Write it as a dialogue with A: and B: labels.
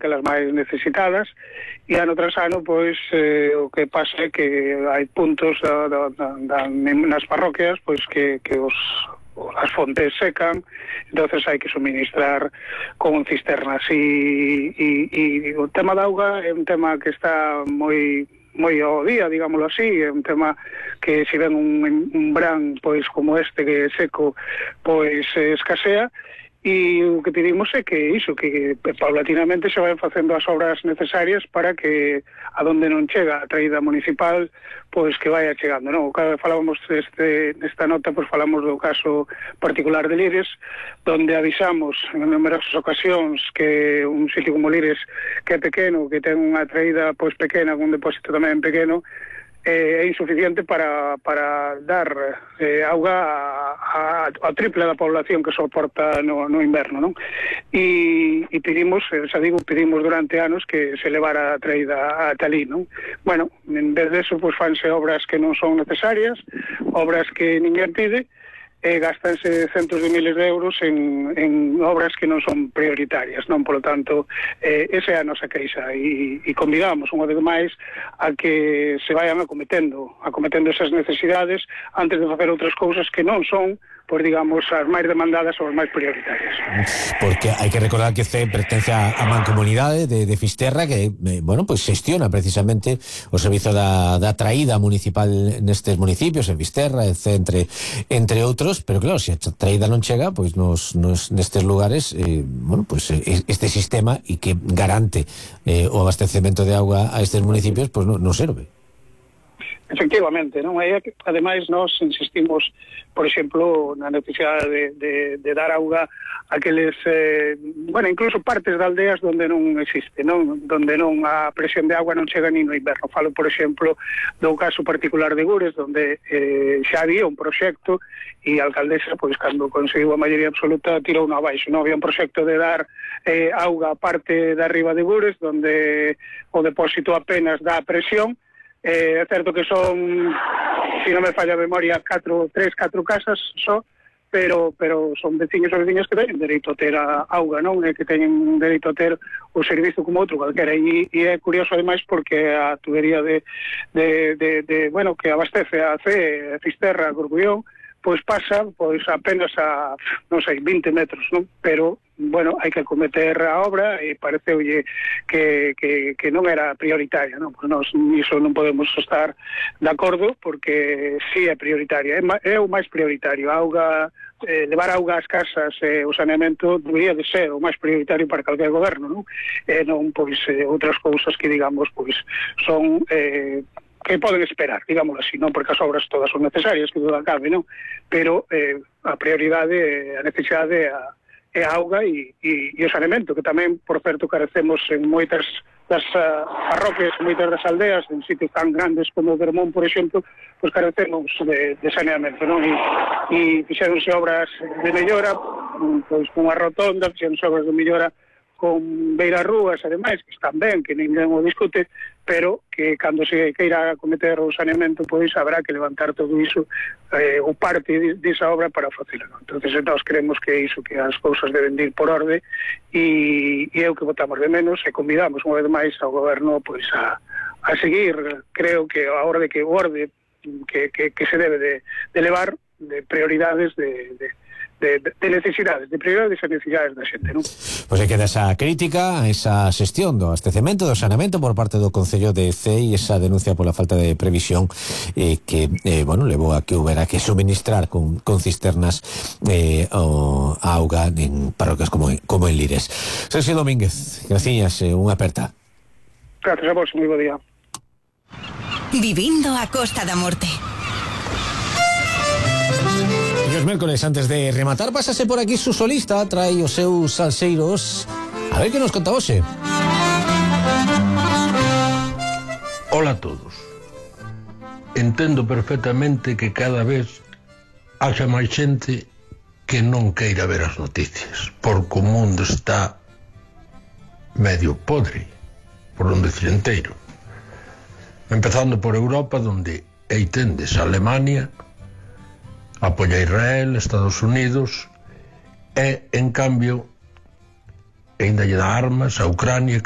A: aquelas máis necesitadas, e ano tras ano, pois, o que pasa é que hai puntos nas parroquias, pois, que as fontes secan, entonces hai que suministrar con cisternas, e o tema da auga é un tema que está moi ao día, digámoslo así, é un tema que se ven un verán pois como este que é seco, pois escasea. E o que pedimos é que iso, que paulatinamente se vayan facendo as obras necesarias para que a donde non chega a traída municipal, pois que vaya chegando, non? Cada vez falábamos nesta nota, pois falamos do caso particular de Lires, donde avisamos en numerosas ocasións que un sitio como Lires, que é pequeno, que ten unha traída pois pequena, con un depósito tamén pequeno, é insuficiente para dar auga a triple da población que soporta no inverno, non? E pedimos, xa digo, pedimos durante anos que se levara a traída ata ali, non? Bueno, en vez de eso, pois fanse obras que non son necesarias, obras que ninguén pide, gastanse centos de miles de euros en obras que non son prioritarias, non? Polo tanto, esa é a nosa queixa, e convidamos unha vez máis a que se vayan acometendo esas necesidades antes de facer outras cousas que non son, pois digamos, as máis demandadas ou as máis prioritarias.
B: Porque hai que recordar que CE pertence á mancomunidade de Fisterra, que, bueno, pois xestiona precisamente o servizo da traída municipal nestes municipios, en Fisterra, entre outros, pero claro, se a traída non chega, pois nestes lugares, bueno, pois este sistema e que garante o abastecemento de auga a estes municipios, pois non serve.
A: Efectivamente, non? E ademais nós insistimos, por exemplo, na necesidade de dar auga a aqueles, bueno, incluso partes de aldeas onde non existe, non? Donde non a presión de agua non chega ni no inverno. Falo, por exemplo, do caso particular de Gures, donde xa había un proxecto e a alcaldesa, pois, cando conseguiu a maioría absoluta, tirou no abaixo, non? Había un proxecto de dar auga a parte de arriba de Gures, donde o depósito apenas dá presión. É certo que son, se non me falla a memoria, 4 casas só, pero son veciños e veciñas que teñen dereito a ter a auga, non? E que teñen dereito a ter o servizo como outro calquera, e é curioso ademais porque a tubería bueno, que abastece a CE, Fisterra, Corcubión, pois pasa, pois apenas a, non sei, 20 metros, non? Pero, bueno, hai que acometer a obra e pareceulle que non era prioritaria, non? Pois nós iso non podemos estar de acordo, porque sí é prioritaria, é o máis prioritario. A auga, levar auga ás casas, o saneamento debería de ser o máis prioritario para calquer goberno, non? Non, pois, outras cousas que, digamos, pois, son que poden esperar, digámoslo así, non? Porque as obras todas son necesarias, que duda cabe, non? Pero a prioridade, a necesidade é a auga e o saneamento, que tamén, por certo, carecemos en moitas das parroquias, en moitas das aldeas, en sitios tan grandes como Vermón, por exemplo, pois carecemos de saneamento, non? E fixeronse obras de mellora, pois con a rotonda, fixeronse obras de mellora con beirarrúas, ademais, que están ben, que ninguén o discute, pero que cando se queira cometer o saneamento, pois habrá que levantar todo iso, o parte desa obra para facelo. Entonces, nós creemos que iso, que as cousas deben ir por orde, e é o que votamos de menos, e convidamos unha vez máis ao goberno pois a seguir, creo que a orde que se debe de levar de prioridades de necesidades, de prioridades e necesidades da xente, non?
B: Pois aí queda esa crítica, esa xestión do abastecemento, do saneamento por parte do Concello de Cee, e esa denuncia pola falta de previsión que, bueno, levou a que houbera que suministrar con cisternas a auga en parroquias como en Lires. Sergio Domínguez, graciñas, unha aperta.
A: Gracias a vos, moi bo día.
C: Vivindo a Costa da Morte.
B: E os mércoles, antes de rematar, pásase por aquí su solista, trae os seus salseiros. A ver que nos conta hoxe.
D: Hola a todos. Entendo perfectamente que cada vez haxa máis xente que non queira ver as noticias, porque o mundo está medio podre, por non decir enteiro. Empezando por Europa, donde aí tendes a Alemania, apoia a Israel, Estados Unidos, e, en cambio, ainda lle dá armas a Ucrania, que